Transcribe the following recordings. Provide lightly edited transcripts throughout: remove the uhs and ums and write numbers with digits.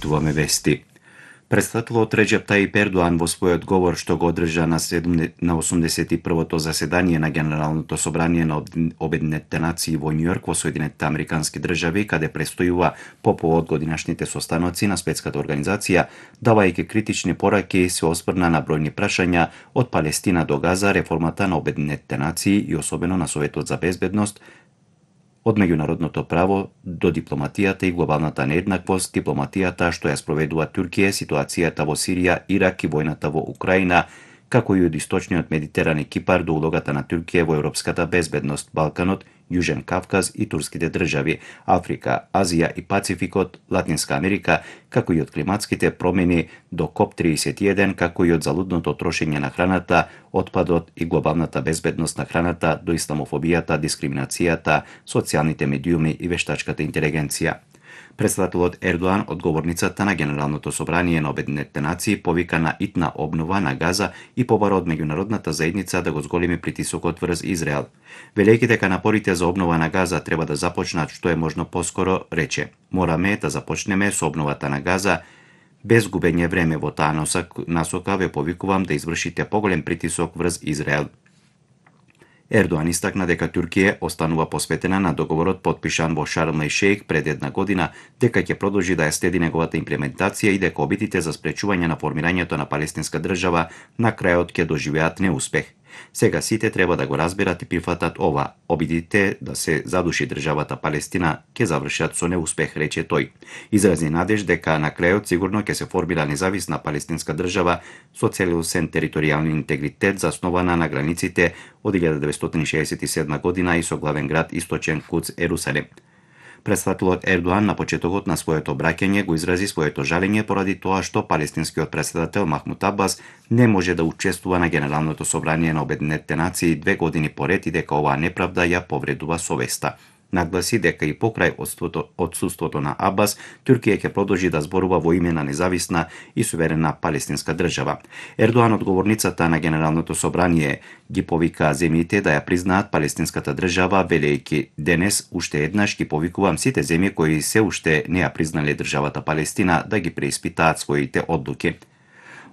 Чуваме вести. Председателот Реџеп Тајип Ердоан во својот говор што го одржа на 81-то заседание на Генералното собрание на Обединетите нации во Њујорк во Соединетите Американски држави, каде престојува по повод годинашните состаноци на Светската организација, давајќи критични пораки, се оспрна на бројни прашања од Палестина до Газа, реформата на Обединетите нации и особено на Советот за безбедност, од меѓународното право до дипломатијата и глобалната нееднаквост, дипломатијата што ја спроведува Туркија, ситуацијата во Сирија, Ирак и војната во Украина, како и од источниот Медитеран и Кипар до улогата на Туркија во европската безбедност, Балканот, Јужен Кавказ и турските држави, Африка, Азија и Пацификот, Латинска Америка, како и од климатските промени до КОП-31, како и од залудното трошење на храната, отпадот и глобалната безбедност на храната до исламофобијата, дискриминацијата, социјалните медиуми и вештачката интелигенција. Председателот Ердоан од говорницата на Генералното собрание на Обединетите нации повика на итна обнова на Газа и побара од меѓународната заедница да го зголеми притисокот врз Израел. Велејќи дека напорите за обнова на Газа треба да започнат што е можно поскоро, рече: "Мораме да започнеме со обновата на Газа без губење време. Во таа насока ве повикувам да извршите поголем притисок врз Израел." Ердоан истакна дека Туркија останува посветена на договорот потпишан во Шарм ел Шејх пред една година, дека ќе продолжи да ја следи неговата имплементација и дека обидите за спречување на формирањето на палестинска држава на крајот ќе доживеат неуспех. Сега сите треба да го разберат и прифатат ова. Обидите да се задуши државата Палестина ќе завршат со неуспех, рече тој. Изрази надеж дека на крајот сигурно ќе се формира независна палестинска држава со целосен територијални интегритет заснована на границите од 1967 година и со главен град Источен Куц Ерусалим. Председателот Ердоан на почетокот на своето обраќање го изрази своето жалење поради тоа што палестинскиот председател Махмуд Абас не може да учествува на Генералното собрание на Обединетите нации 2 години поред и дека оваа неправда ја повредува совеста. Нагласи дека и покрај отсуството на Абас, Туркија ќе продолжи да зборува во име на независна и суверена палестинска држава. Ердоан од говорницата на Генералното собрание ги повика земјите да ја признаат палестинската држава, велејќи: "Денес уште еднаш ги повикувам сите земји кои се уште не ја признале државата Палестина да ги преиспитаат своите одлуки."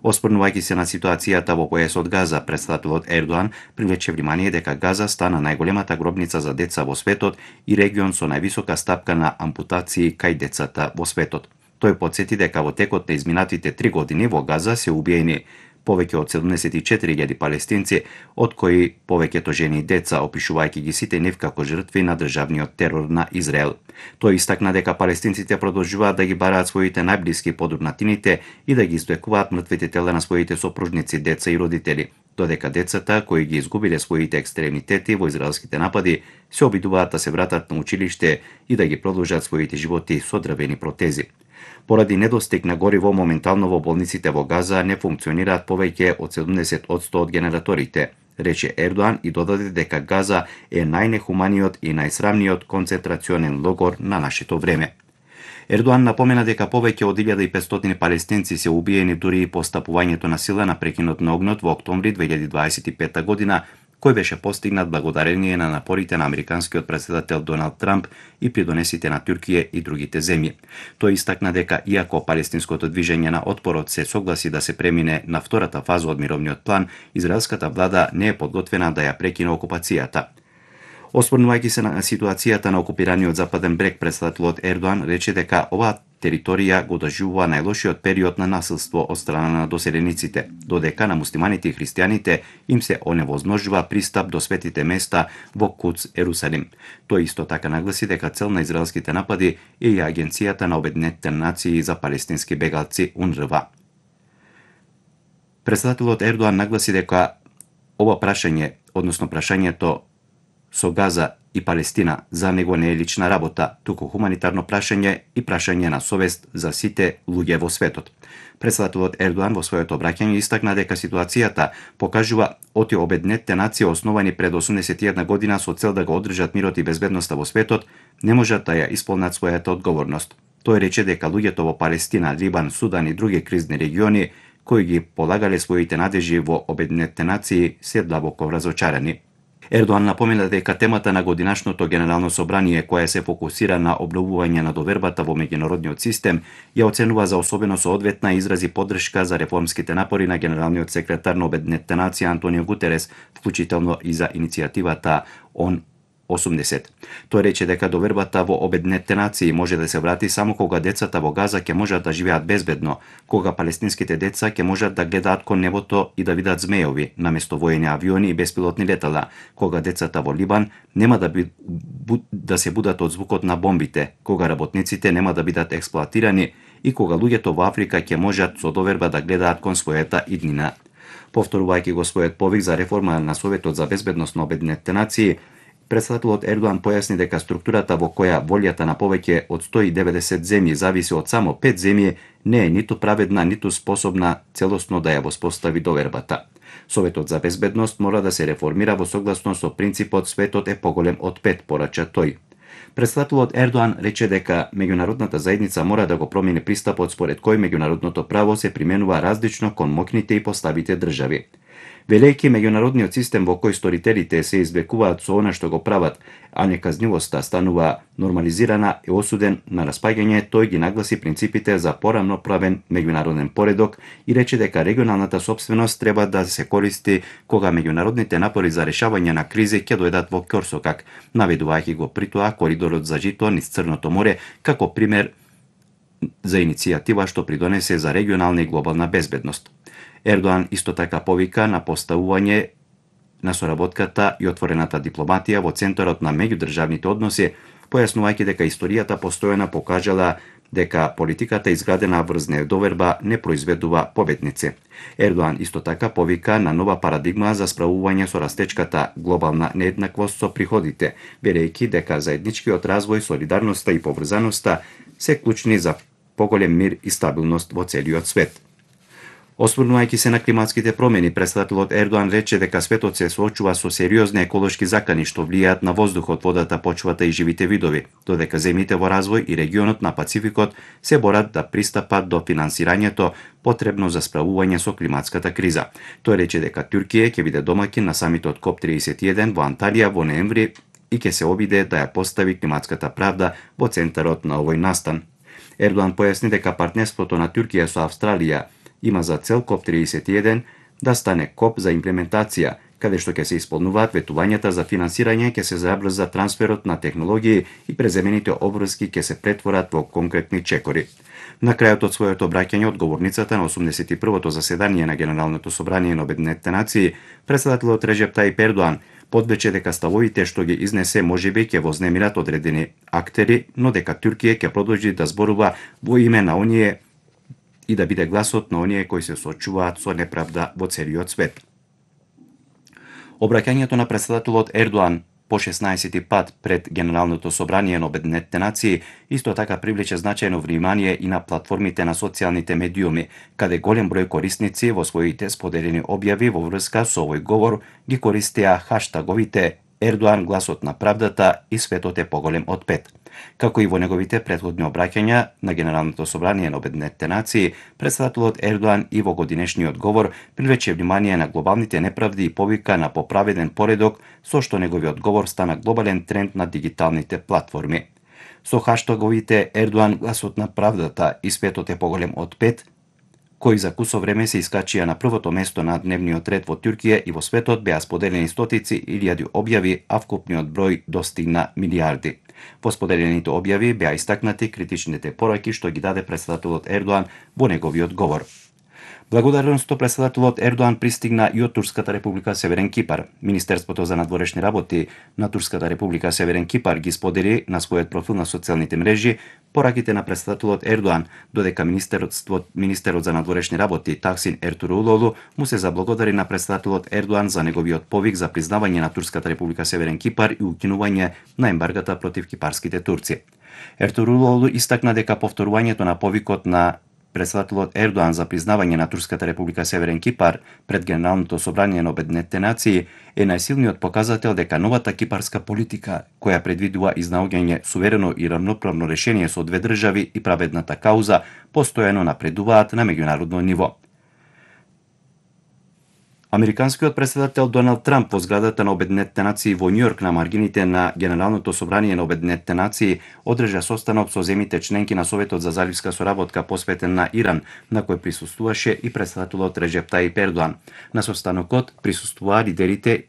Оспорнувајќи се на ситуацијата во појасот Газа, председателот Ердоан привлече внимание дека Газа стана најголемата гробница за деца во светот и регион со највисока стапка на ампутации кај децата во светот. Тој потсети дека во текот на изминатите 3 години во Газа се убиени повеќе од 74.000 палестинци, од кои повеќето жени и деца, опишувајќи ги сите нив како жртви на државниот терор на Израел. Тој истакна дека палестинците продолжуваат да ги бараат своите најблиски под урнатините и да ги извлекуваат мртвите тела на своите сопружници, деца и родители, додека децата кои ги изгубиле своите екстремитети во израелските напади се обидуваат да се вратат на училиште и да ги продолжат своите животи со дрвени протези. Поради недостиг на гориво, моментално во болниците во Газа не функционираат повеќе од 70% од генераторите, рече Ердоан и додаде дека Газа е најнехуманиот и најсрамниот концентрационен логор на нашето време. Ердоан напомена дека повеќе од 1500 палестинци се убиени дури и по стапувањето на сила на прекинот на огнот во октомври 2025 година, кој беше постигнат благодарение на напорите на американскиот председател Доналд Трамп и придонесите на Туркија и другите земји. Тој истакна дека иако палестинското движење на отпорот се согласи да се премине на втората фаза од мировниот план, израелската влада не е подготвена да ја прекине окупацијата. Оспорнувајќи се на ситуацијата на окупираниот Западен брег, председателот Ердоан рече дека оваа територија го доживува најлошиот период на насилство од страна на доселениците, додека на муслиманите и христијаните им се оневозможува пристап до светите места во Куц Ерусалим. Тој исто така нагласи дека цел на израелските напади е и Агенцијата на Обединетите нации за палестински бегалци УНРВА. Председателот Ердоан нагласи дека ова прашање, односно прашањето со Газа и Палестина, за него не е лична работа, туку хуманитарно прашање и прашање на совест за сите луѓе во светот. Председателот Ердоан во своето обраќање истакна дека ситуацијата покажува оти Обединетите нации основани пред 81 година со цел да го одржат мирот и безбедноста во светот, не можат да ја исполнат својата одговорност. Тој рече дека луѓето во Палестина, Либан, Судан и други кризни региони кои ги полагале своите надежи во Обединетите нации се длабоко разочарани. Ердоан напомена дека темата на годинашното генерално собрание, која се фокусира на обновување на довербата во меѓународниот систем, ја оценува за особено соодветна и изрази поддршка за реформските напори на генералниот секретар на Обединетите нации Антонио Гутерес, вклучително и за иницијативата ООН 80. Тој рече дека довербата во Обединетите нации може да се врати само кога децата во Газа ќе можат да живеат безбедно, кога палестинските деца ќе можат да гледаат кон небото и да видат змејови, наместо воени авиони и беспилотни летала, кога децата во Либан нема да се будат од звукот на бомбите, кога работниците нема да бидат експлоатирани и кога луѓето во Африка ќе можат со доверба да гледаат кон својата иднина. Повторувајќи го својот повик за реформа на Советот за безбедност на Обединетите нации, председателот Ердоан појасни дека структурата во која волјата на повеќе од 190 земји зависи од само 5 земји не е ниту праведна, ниту способна целосно да ја воспостави довербата. Советот за безбедност мора да се реформира во согласност со принципот светот е поголем од 5, порача тој. Председателот Ердоан рече дека меѓународната заедница мора да го промени пристапот според кој меѓународното право се применува различно кон моќните и поставите држави. Велејќи меѓународниот систем во кој сторителите се извлекуваат со она што го прават, а неказнивоста станува нормализирана и осуден на распаѓање, тој ги нагласи принципите за порамноправен меѓународен поредок и рече дека регионалната сопственост треба да се користи кога меѓународните напори за решавање на кризи ќе дојдат во ќорсокак, наведувајќи го при тоа коридорот за жито низ Црното море како пример за иницијатива што придонесе за регионална и глобална безбедност. Ердоан исто така повика на поставување на соработката и отворената дипломатија во центарот на меѓудржавните односи, појаснувајќи дека историјата постојано покажала дека политиката изградена врз недоверба не произведува победници. Ердоан исто така повика на нова парадигма за справување со растечката глобална нееднаквост со приходите, верејќи дека заедничкиот развој, солидарноста и поврзаноста се клучни за поголем мир и стабилност во целиот свет. Осврнувајќи се на климатските промени, председателот Ердоан рече дека светот се соочува со сериозни еколошки закани што влијаат на воздухот, водата, почвата и живите видови, додека земјите во развој и регионот на Пацификот се борат да пристапат до финансирањето потребно за справување со климатската криза. Тој рече дека Туркија ќе биде домаќин на самитот КОП31 во Анталија во ноември и ќе се обиде да ја постави климатската правда во центарот на овој настан. Ердоан појасни дека партнерството на Туркија со Австралија има за цел КОП31 да стане КОП за имплементација, каде што ќе се исполнуваат ветувањата за финансирање, ќе се забрза трансферот на технологии и преземените обврски ќе се претворат во конкретни чекори. На крајот од своето обраќање одговорницата на 81-то заседание на Генералното собрание на Обединетите нации, председателот Реджеп Тајип Ердоан подвече дека ставовите што ги изнесе можеби ќе вознемират одредени актери, но дека Туркија ќе продолжи да зборува во име на оние и да биде гласот на оние кои се соочуваат со неправда во целиот свет. Обраќањето на председателот Ердоан по 16 пат пред Генералното собрание на Обединетите нации исто така привлече значајно внимание и на платформите на социјалните медиуми, каде голем број корисници во своите споделени објави во врска со овој говор ги користеа хаштаговите Ердоан гласот на правдата и светот е поголем од 5. Како и во неговите претходни обраќања на Генералното собрание на Обединетите нации, председателот Ердоан и во годинешниот говор привлече внимание на глобалните неправди и повика на поправеден поредок, со што неговиот говор стана глобален тренд на дигиталните платформи. Со хаштаговите Ердоан гласот на правдата и светот е поголем од 5, кои за кусо време се искачија на првото место на дневниот ред во Туркија и во светот беа споделени стотици илјади објави, а вкупниот број достигна милиарди. Во споделените објави беа истакнати критичните пораки што ги даде председателот Ердоан во неговиот говор. Благодарноста председателот Ердоан пристигна и од Турската република Северен Кипар. Министерството за надворешни работи на Турската република Северен Кипар ги сподели на својот профил на социјалните мрежи пораките на председателот Ердоан, додека министерот за надворешни работи Таксин Ертурулолу му се заблагодари на председателот Ердоан за неговиот повик за признавање на Турската република Северен Кипар и укинување на ембаргата против кипарските турци. Ертурулолу истакна дека повторувањето на повикот на председателот Ердоан за признавање на Турската република Северен Кипар пред Генералното собрание на Обединетите нации е најсилниот показател дека новата кипарска политика, која предвидува изнаоѓање суверено и равноправно решение со две држави и праведната кауза, постојано напредуваат на меѓународно ниво. Американскиот претседател Доналд Трамп во зградата на Обединетите нации во Њујорк на маргините на Генералното собрание на Обединетите нации одржа состанок со земите членки на Советот за заливска соработка посветен на Иран, на кој присуствуваше и претседателот Реджеп Таип Ердоан. На состанокот присуствуваа лидерите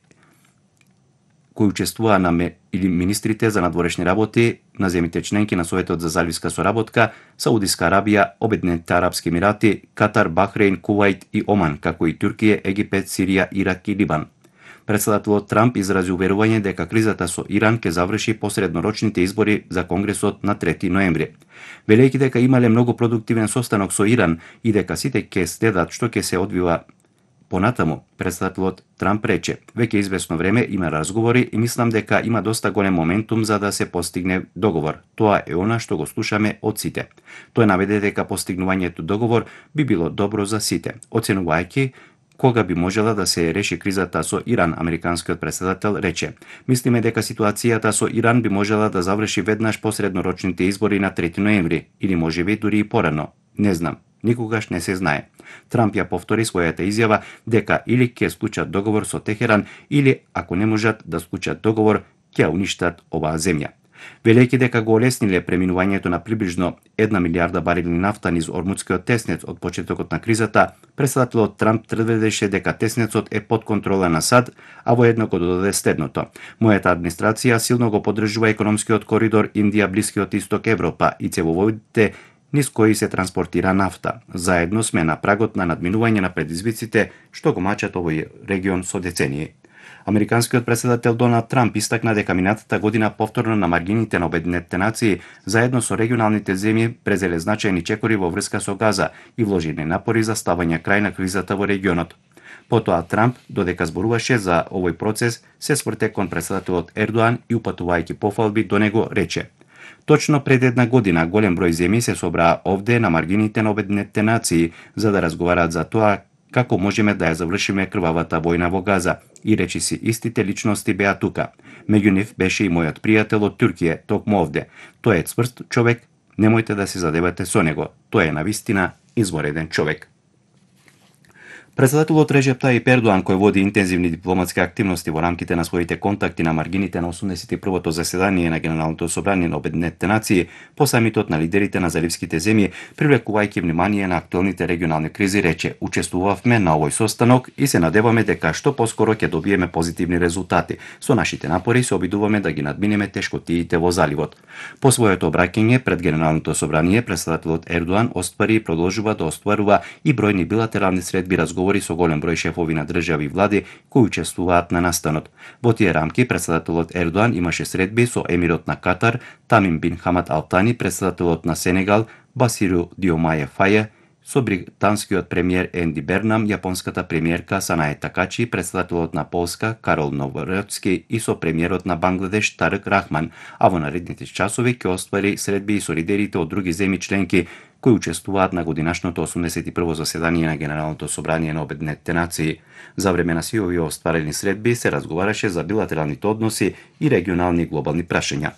кои учествуваа или министрите за надворешни работи на земите членки на Советот за заливска соработка, Саудиска Арабија, Обединетите арапски емирати, Катар, Бахрейн, Кувајт и Оман, како и Туркија, Египет, Сирија, Ирак и Либан. Претседателот Трамп изрази уверување дека кризата со Иран ќе заврши по среднорочните избори за Конгресот на 3 ноември. Велејќи дека имале многу продуктивен состанок со Иран и дека сите ќе следат што ќе се одвива понатаму, претседателот Трамп рече: "Веќе известно време има разговори и мислам дека има доста голем моментум за да се постигне договор. Тоа е она што го слушаме од сите." Тој наведе дека постигнувањето договор би било добро за сите, оценувајќи кога би можела да се реши кризата со Иран. Американскиот претседател рече: "Мислиме дека ситуацијата со Иран би можела да заврши веднаш по среднорочните избори на 3 ноември или можеби дури и порано. Не знам. Никогаш не се знае." Трамп ја повтори својата изјава дека или ќе склучат договор со Техеран или, ако не можат да склучат договор, ќе уништат оваа земја. Велејќи дека го олесниле преминувањето на приближно 1 милијарда барели нафта низ Ормудскиот теснец од почетокот на кризата, претседателот Трамп тврдеше дека теснецот е под контрола на САД, а воедно го додаде следното: "Мојата администрација силно го поддржува економскиот коридор Индија, Блискиот Исток, Европа и цевоводите низ кои се транспортира нафта. Заедно сме на прагот на надминување на предизвиците што го мачат овој регион со децении." Американскиот претседател Доналд Трамп истакна дека минатата година повторно на маргините на Обединетите нации заедно со регионалните земји презеле значајни чекори во врска со Газа и вложиле напори за ставање крај на кризата во регионот. Потоа Трамп, додека зборуваше за овој процес, се сврте кон претседателот Ердоан и упатувајќи пофалби до него рече: "Точно пред 1 година голем број земји се собраа овде на маргините на Обединетите нации за да разговараат за тоа како можеме да ја завршиме крвавата војна во Газа, и речиси истите личности беа тука. Меѓу нив беше и мојот пријател од Туркија, токму овде. Тој е цврст човек, немојте да се задевате со него. Тој е навистина извореден човек." Претседателот Реджеп Таип Ердоан, кој води интензивни дипломатски активности во рамките на своите контакти на маргините на 81-то заседание на Генералното собрание на Обединетите нации, по самитот на лидерите на заливските земји, привлекувајќи внимание на актуелните регионални кризи, рече: "Учествувавме на овој состанок и се надеваме дека што поскоро ќе добиеме позитивни резултати. Со нашите напори се обидуваме да ги надминеме тешкотиите во заливот." По своето обраќање пред Генералното собрание, претседателот Ердоан оствари и продолжува да остварува и бројни билатерални средби разговори со голем број шефови на држави и влади кои учествуваат на настанот. Во тие рамки претседателот Ердоан имаше средби со емирот на Катар Тамим бин Хамад Ал Тани, претседателот на Сенегал Басиру Диомаје Фаје, со британскиот премиер Енди Бернам, јапонската премиерка Санае Такачи, претседателот на Полска Карол Новородски и со премиерот на Бангладеш Тарик Рахман, а во наредните часови ќе оствари средби и со лидерите од други земји членки кои учествуваат на годинашното 81-во заседание на Генералното собрание на Обединетите нации. За време на сите овие остварени средби се разговараше за билатералните односи и регионални и глобални прашања.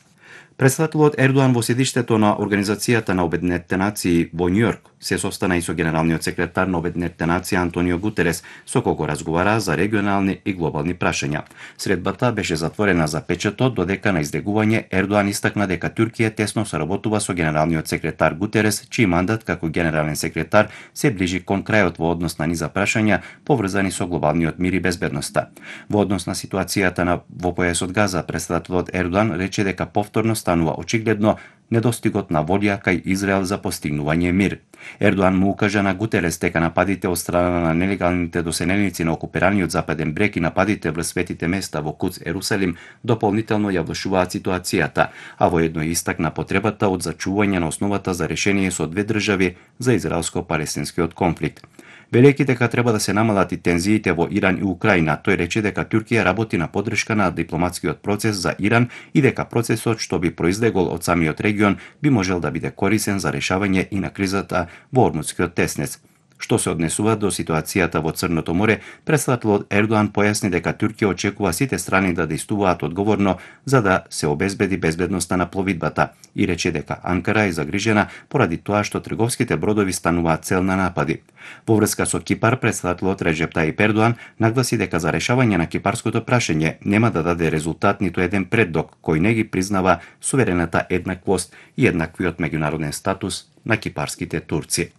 Претседателот Ердоан во седиштето на Организацијата на Обединетите нации во Њујорк се состана и со генералниот секретар на Обединетите нации Антонио Гутерес, со кого разговара за регионални и глобални прашања. Средбата беше затворена за печатот, додека на излегување Ердоан истакна дека Туркија тесно соработува со генералниот секретар Гутерес, чиј мандат како генерален секретар се ближи кон крајот во однос на низа прашања поврзани со глобалниот мир и безбедноста. Во однос на ситуацијата во појасот Газа, претседателот Ердоан рече дека повторно станува очигледно недостигот на волја кај Израел за постигнување мир. Ердоан му укажа на Гутерес дека нападите од страна на нелегалните доселеници на окупираниот Западен брег и нападите врз светите места во Куц Ерусалим дополнително ја влошуваат ситуацијата, а воедно истакна потребата од зачување на основата за решение со две држави за израелско-палестинскиот конфликт. Велејќи дека треба да се намалат и тензиите во Иран и Украина, тој рече дека Туркија работи на поддршка на дипломатскиот процес за Иран и дека процесот што би произлегол од самиот регион би можел да биде корисен за решавање и на кризата во Ормудскиот теснец. Што се однесува до ситуацијата во Црното море, претставителот Ердоан појасни дека Туркија очекува сите страни да действуваат одговорно за да се обезбеди безбедноста на пловидбата и рече дека Анкара е загрижена поради тоа што трговските бродови стануваат цел на напади. Во врска со Кипар, претставителот Реджеп Таип Ердоан нагласи дека за решавање на кипарското прашање нема да даде резултат ниту еден предлог кој не ги признава суверената еднаквост и еднаквиот меѓународен статус на кипарските турци.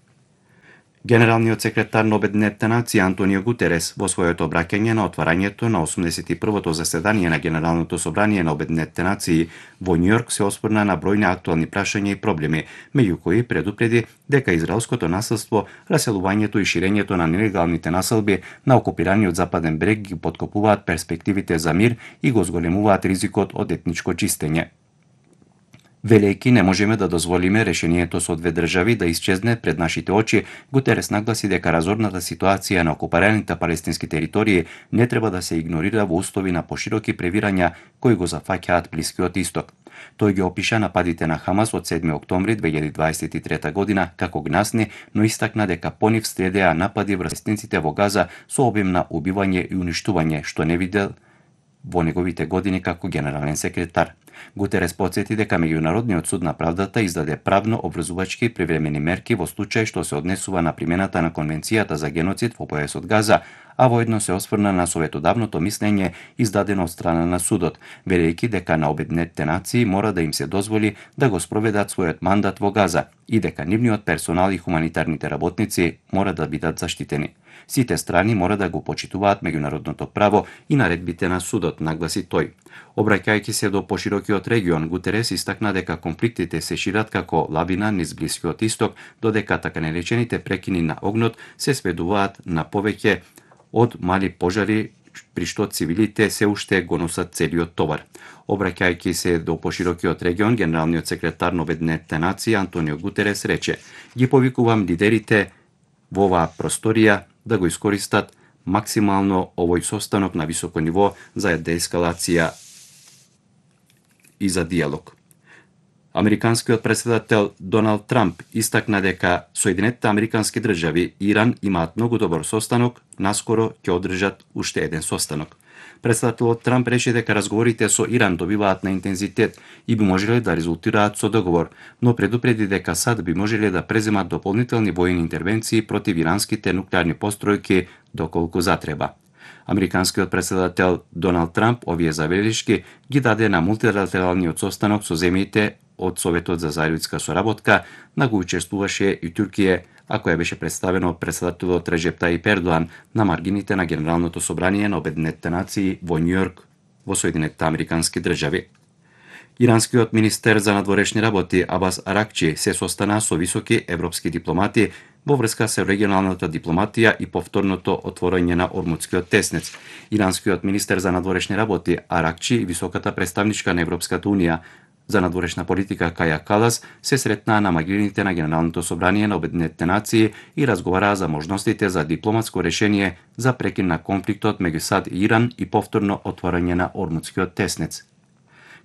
Генералниот секретар на Обединетите нации Антонио Гутерес во своето обраќање на отварањето на 81-то заседание на Генералното собрание на Обединетите нации во Њујорк се осврна на бројни актуални прашања и проблеми, меѓу кои предупреди дека израелското насилство, раселувањето и ширењето на нелегалните населби на окупираниот западен брег ги поткопуваат перспективите за мир и го зголемуваат ризикот од етничко чистење. Велејќи не можеме да дозволиме решението со две држави да исчезне пред нашите очи, Гутерес нагласи дека разорната ситуација на окупираните палестински територии не треба да се игнорира во услови на пошироки превирања кои го зафаќаат Блискиот Исток. Тој ги опиша нападите на Хамас од 7 октомври 2023 година како гнасни, но истакна дека по нив следеа напади врз палестинците во Газа со обим на убивање и уништување, што не видел во неговите години како генерален секретар. Гутерес потсети дека Меѓународниот суд на правдата издаде правно обврзувачки привремени мерки во случај што се однесува на примената на Конвенцијата за геноцид во појасот Газа, а воедно се осврна на советодавното мислење издадено од страна на судот, велејќи дека на Обединетите нации мора да им се дозволи да го спроведат својот мандат во Газа и дека нивниот персонал и хуманитарните работници мора да бидат заштитени. Сите страни мора да го почитуваат меѓународното право и наредбите на судот, нагласи тој. Обраќајќи се до поширокиот регион, Гутерес истакна дека конфликтите се шират како лавина низ Блискиот Исток, додека така наречените прекини на огнот се сведуваат на повеќе од мали пожари, при што цивилите се уште го носат целиот товар. Обраќајќи се до поширокиот регион, генералниот секретар на Обединетите нации Антонио Гутерес рече: "Ги повикувам лидерите во оваа просторија да го искористат максимално овој состанок на високо ниво за деескалација и за диалог." Американскиот претседател Доналд Трамп истакна дека Соединетите Американски држави и Иран имаат многу добар состанок, наскоро ќе одржат уште еден состанок. Претседателот Трамп рече дека разговорите со Иран добиваат на интензитет и би можеле да резултираат со договор, но предупреди дека САД би можеле да преземат дополнителни војни интервенции против иранските нуклеарни постројки доколку затреба. Американскиот претседател Доналд Трамп овие забелешки ги даде на мултилатералниот состанок со земјите од Советот за заедничка соработка, на кој учествуваше и Туркија, а која беше представена од претседателот Реджеп Таип Ердоан на маргините на Генералното собрание на Обединетите нации во Њујорк во Соединетите Американски држави. Иранскиот министер за надворешни работи Абас Аракчи се состана со високи европски дипломати во врска со регионалната дипломатија и повторното отворање на Ормудскиот теснец. Иранскиот министер за надворешни работи Аракчи и високата представничка на Европската унија за надворешна политика Каја Калас се сретнаа на магините на Генералното собрание на Обединетите нации и разговараа за можностите за дипломатско решение за прекин на конфликтот меѓу САД и Иран и повторно отворање на Ормудскиот теснец.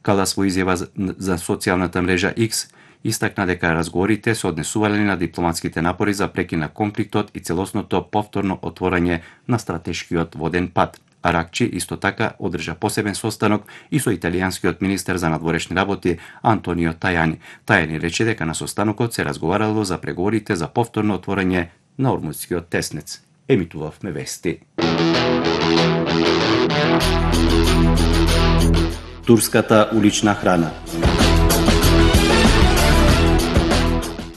Калас во изјава за социјалната мрежа X истакна дека разговорите се однесувале на дипломатските напори за прекин на конфликтот и целосното повторно отворање на стратешкиот воден пат. Аракчи исто така одржа посебен состанок и со италијанскиот министер за надворешни работи Антонио Тајани. Тајани рече дека на состанокот се разговарало за преговорите за повторно отворање на Ормудскиот теснец. Емитувавме вести. Турската улична храна.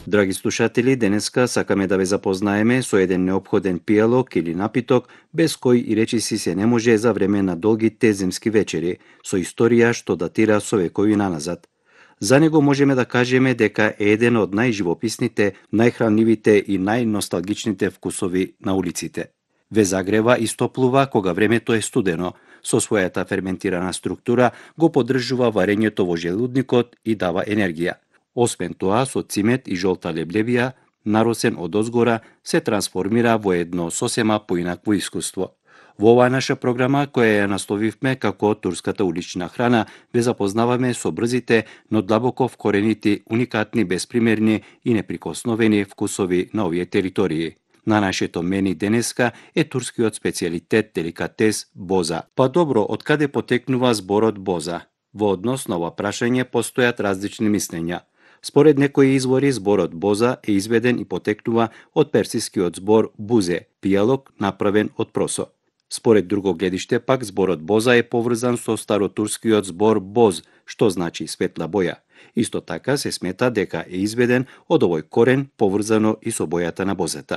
Драги слушатели, денеска сакаме да ве запознаеме со еден неопходен пијалок или напиток без кој и речиси се не може за време на долгите зимски вечери, со историја што датира со векови наназад. За него можеме да кажеме дека е еден од најживописните, најхранливите и најносталгичните вкусови на улиците. Ве загрева и стоплува кога времето е студено, со својата ферментирана структура го поддржува варењето во желудникот и дава енергија. Освен тоа, со цимет и жолта леблевија, наросен од озгора, се трансформира во едно сосема поинакво искуство. Во оваа наша програма, која ја насловивме како Турската улична храна, ве запознаваме со брзите, но длабоко вкоренити, уникатни, беспримерни и неприкосновени вкусови на овие територии. На нашето мени денеска е турскиот специјалитет деликатес боза. Па добро, од каде потекнува зборот боза? Во однос на ова прашање постојат различни мислења. Според некои извори, зборот боза е изведен и потекнува од персискиот збор бузе, пијалок направен од просо. Според друго гледиште пак, зборот боза е поврзан со старотурскиот збор боз, што значи светла боја. Исто така се смета дека е изведен од овој корен, поврзано и со бојата на бозата.